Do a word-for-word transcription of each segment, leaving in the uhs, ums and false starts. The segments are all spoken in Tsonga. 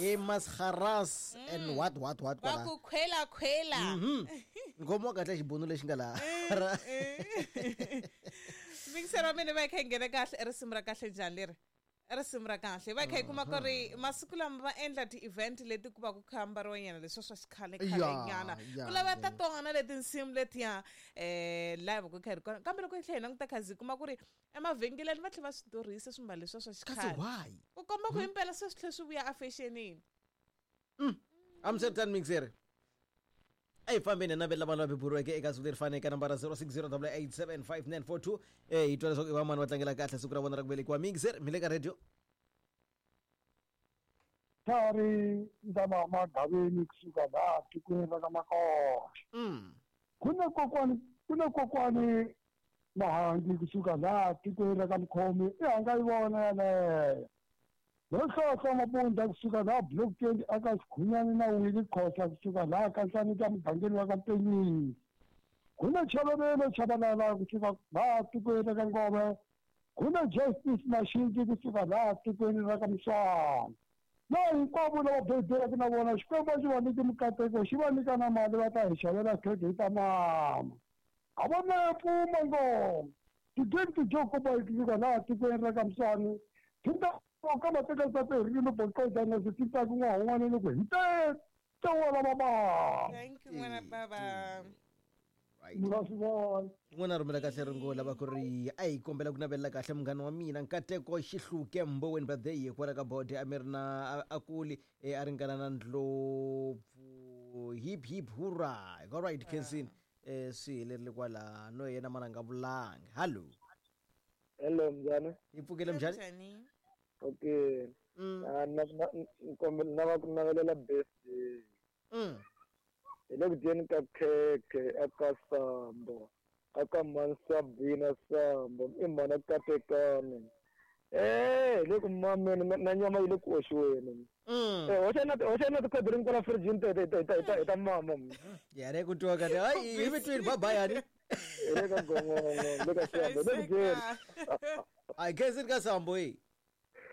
E masharas and what what what va ku khwela khwela. Ngoma kahle xibunu lexi nga laha. Mixer wa mina va kha nghena kahle risimu ra kahle njhani leri? Risimu ra kahle va kha hi kuma ku ri masiku lama va endla ti-event leti ku va ku khambariwa nyana leswi swa xikhale khale nyana ku lava ta tona leti nsimu letiya eh live ku kha ri kona kambe loko hi tlhela hi languta khazi kuma ku ri emavhengeleni va tlhela va swi durhisa swimbalo leswiya swa xikhale ku komba ku himpela se swi tlhela swi vuya efexenini. Amsterdam mixer a hi fambeni navela vanhu va beburiweke eka siku leri faneke nambara zero six zero double eight seven five nine four two eh hi twa leswaku i vamani va tlangela kahle siku ra vona ra ku velekiwa. Mixer mi le ka radio Thari ndama magaveni kusuka laha tikweni ra ka Makoxa. Ku na kokwani ku na kokwani Mahangi kusuka laha tikweni ra ka Mkhomi i hanga yi vona yaleyo. Nohlohlo Mabunda kusuka laha Block twenty aka Sikhunyani na Willie Khosa kusuka laha ka Nhlanika mugangeni wa ka Mpenyisi. Ku na Chavelelo Chabalala kusuka laha tikweni ra ka Ngove. Ku na Justice Mashinji kusuka laha tikweni ra ka Mswana. Na hinkwavo lava bebelaka na vona Xikwembu xi va nyike mikateko xi va nyika na mali va ta hi xavela khekhe hi ta mama. A va na pfuma ngoma. Tigeni tijoko ba kusuka laha tikweni ra ka Mswana. Tinta ka mateka tsa ririmi boqoza na swi ku n'wa un'wana loko hi te tewala baba. Thank you n'wana baba. Right. N'wana rhumela kahle ringo lava ku ri a hi kombela ku navelela kahle munghana wa mina Nkateko Xihluke Mboweni birthday kwala ka bode a mi ri na a kuli a ringana na Ndlopfu hip hip hurra. All right Kensin eh swi helerile kwala no yena mana nga vulanga. Hello. Hello mjana. Hi pfukile mjani? Okay. Mm. Ah na na na ku navelela birthday. Mm. Hi le ku dyeni ka khekhe aka Sambo aka Mansabina Sambo i mhana Katekani. Eh hi le ku mameni na nyama yi le ku oxiweni. Eh hoxa na hoxa na tikhodirini kwala fridge ta ta ta ta ta mama. Ya re ku twa ka hayi hi between bye bye yani. Hi le ka gongongo le ka Sambo le ku dyeni. I guess it ka Sambo eh.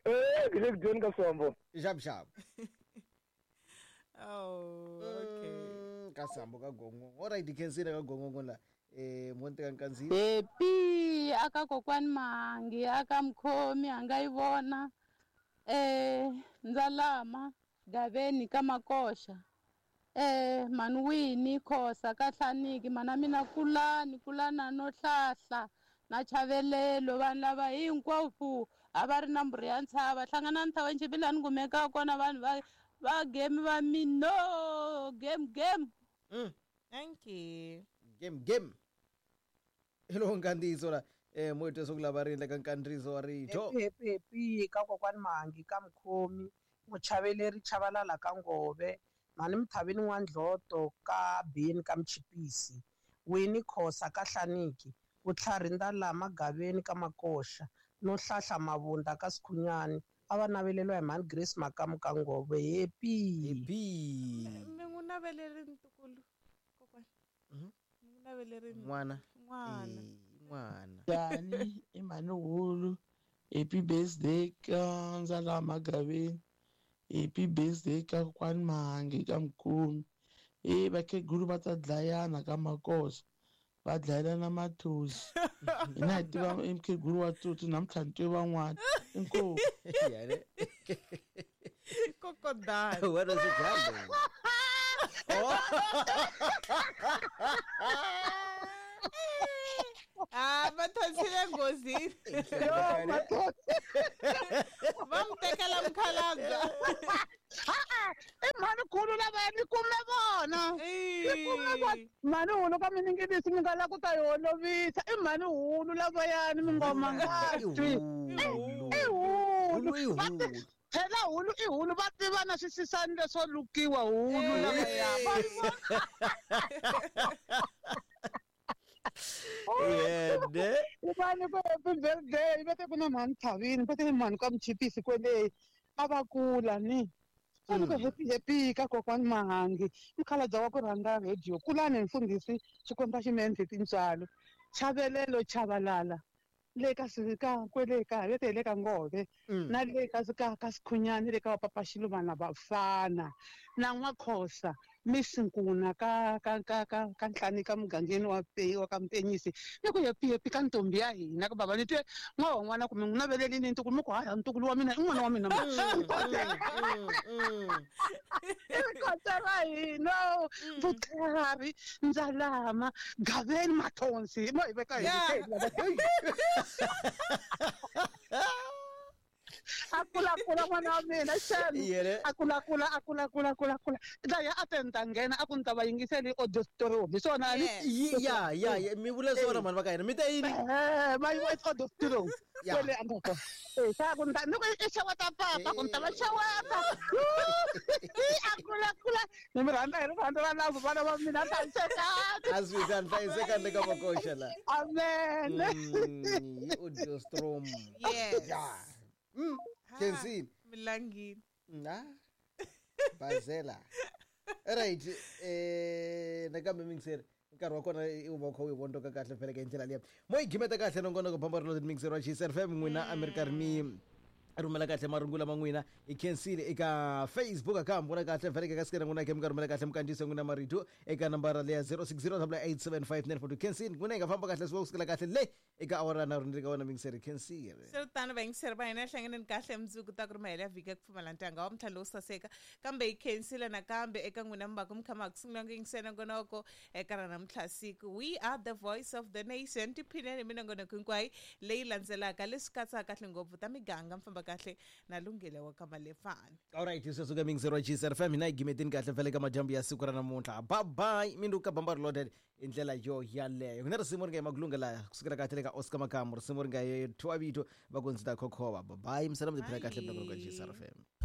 Eh hi le ku dyeni ka Sambo. Xap xap. Oh, okay. Ka Sambo ka gongongo. All right, khensile ka gongongo la. Eh mo nteka nkanzi. Happy aka kokwani Mahangi aka Mkhomi anga yi vona. Eh Ndzalama Gaveni ka Makoxa. Eh Manwini Khosa ka Hlaniki mana mina kulani kulana no hlahla na Chavelelo vanhu lava hinkwavo a va ri na mburi ya ntshava hlangana ntshava nchibilani kumeka kona vanhu va va game va mino game game. Mm. Thank you. Game game. Hello nkandziso la eh moito sokulava ri endleka nkandziso wa rito. Happy happy ka kokwani Mahangi ka Mkhomi muchaveleri Chabalala ka Ngove mani Mthavini wa Ndloto ka Bini ka Mchipisi Winnie Khosa ka Hlaniki Vutlhari Ndalama Gaveni ka Makoxa no Hlahla Mabunda ka Sikhunyani a va naveleriwa hi mhani Grace Makamu ka Ngove. Happy happy. Mi n'wi naveleri ntukulu kokwani. Mhm. Mi n'wi naveleri n'wana. N'wana. N'wana. Dani i mhani Hulu happy birthday ka Ndzalama Gaveni happy birthday ka kokwani Mahangi ka Mkhomi. Eh vakhegulu va ta dlayana ka Makoxa va dlayelana mathosi. Hina hi tiva mukhegulu wa tsotsi namuntlha ni twe van'wana. Inkomu. Yare. Kokodani. What is it? Oh. Ah, mathonsile nghozini. Va mi tekela mukhalabye. Ha-a, i mhani khulu lavaya ni kume vona. Ni kume vona. Mhani hulu ka miningilisi mi nga la ku ta yi holovisa. I mhani hulu lavayani mi ngoma nga twi. I hulu. Phela hulu i hulu va tiva na swisisani leswo lukiwa hulu lavaya. Yede. Ubani ku happy birthday va te ku na mhani Thavini va te mhani ka Mchipisi kwele a va kula ni. Ku happy happy ka kokwani Mahangi mukhalabye wa ku rhandza radio kulani mfundhisi Xikwembu xi mi endle tintswalo Chavelelo Chabalala Le ka ka kwele ka le le ka Ngove na le ka ka ka Sikhunyani le ka Papa Xilumana Bafana na N'wakhosa Misinkuna ka ka ka ka ka ntlhani ka mugangeni wa pe wa ka Mpenyisi ni ku yepi yepi ka ntombi ya hina ka baba ni twe n'wa n'wana kumbe n'wi navelelini ntukulu mi ku haya ntukulu wa mina i n'wana wa mina i kota ra hina vutlhari Ndzalama Gaveni Mathonsi mo hi veka hi akula kula n'wana wa mina xana akula kula akula kula kula kula dlaya a tenta nghena a ku ni ta va yingiseli audio story hi swona ni ya ya mi vula swona mhani va ka hina mi ta yini eh ma yi audio story kwele a nga eh sa ku ni ku i xeweta papa ku ni ta va xeweta akula kula ni mi rhandza hi rirhandzu ra lavo vana va mina hlayisekani a swi ta hlayisekani le ka makoxa la amen hi audio storm yes yeah. Mm. Kensini Milangini na Bazela right eh nakambe mingiseri nkarhi wa kona i va kha u yi vondoka kahle phela ka ndlela liya mo yi gimeta kahle nongonoko bamba ri mixer wa G S F M n'wina a mi ri karhi mi rhumela kahle marungula ma n'wina hi khensile eka Facebook account vona kahle vhele ka sikena n'wina ke mi ka rhumela kahle mikandziyiso n'wina marito eka nambara leya zero six zero eight seven five nine four two khensile n'wina hi nga famba kahle swi kusukela kahle le eka awara na rhundzi ka wena mingiseri khensile swi tano vayingiseri va hina hlanganeni kahle mundzuku ta ku ri mahelo ya vhiki ya ku pfumala ntanga wa mtlhalo wo saseka kambe hi khensile nakambe eka n'wina mi va ku mi kha ma ku sungula ku yingisela nongonoko eka ra namuntlha siku. We are the voice of the nation. Tiphineni minongonoko hinkwayo leyi landzelaka leswi katsaka kahle ngopfu ta miganga mi famba kahle na lunghelo wa ka Malefani. Alright, sweswo ka mingiseri wa G S F M hina hi gimeteni kahle vhele ka madyambu ya siku ra namuntlha. Bye bye minduka bamba ri loaded hi ndlela yo yaleyo. Ku na risimu ri nga emakulunga laha kusukela kahle le ka Oscar Makamu risimu ri nga ye Thwabito va ku ndzi ta khokhova. Bye bye misala mi tiphina kahle ka G S F M.